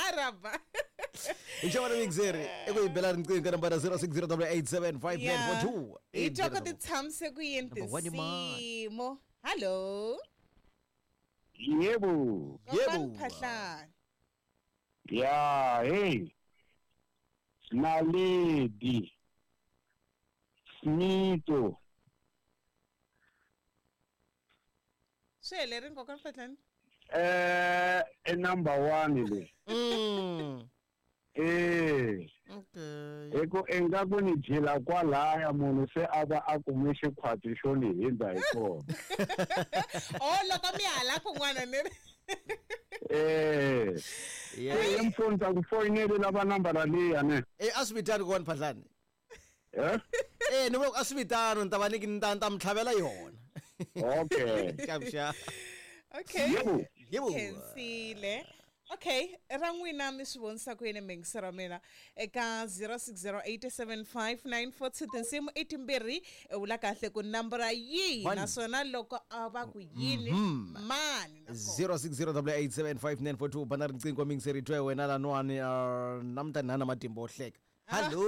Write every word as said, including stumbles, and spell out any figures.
Araba. Hi xava mixeri i ku hi bela riqingho ka nambara zero six zero double eight seven five nine four two. Hi twa ku ti tshamise ku yini Number one, man. tinsimu. Hello. Yebo. Yebo. Kokwana Phahlane. Ya, hey. Naledi. Smito. Swi helerile kokwana Phahlane? Eh, e number one le. Mm. Eh. Okay. Hi ku ingaku ni jila kwalaya munhu se a va a kume xikhwati xo ni hindza hi kona. Oh, loko mi hala kun'wana ni ri. Eh. Yeah. Eh, mfundza ku foyinele lava nambara liya ne. Eh, a swi vitani kokwana Phahlane. Eh? Eh, ni vula ku a swi vitano ni ta va ni ni ta ni ta mi tlhavela yona. Okay. Xavuxa. Okay. Yebo. Yebo. Khensile. Okay, ra n'wina mi swi vonisa ku yini miyingisero wa mina eka zero six zero eight seven five nine four two tinsimu i timbirhi i vula kahle ku nambara yihi One. naswona loko a va ku yini mani nakona. zero six zero double eight seven five nine four two bana riqingho miyingiseri twe wena laniwani uh, namuntlha ni na matimba wo hleka. Hello.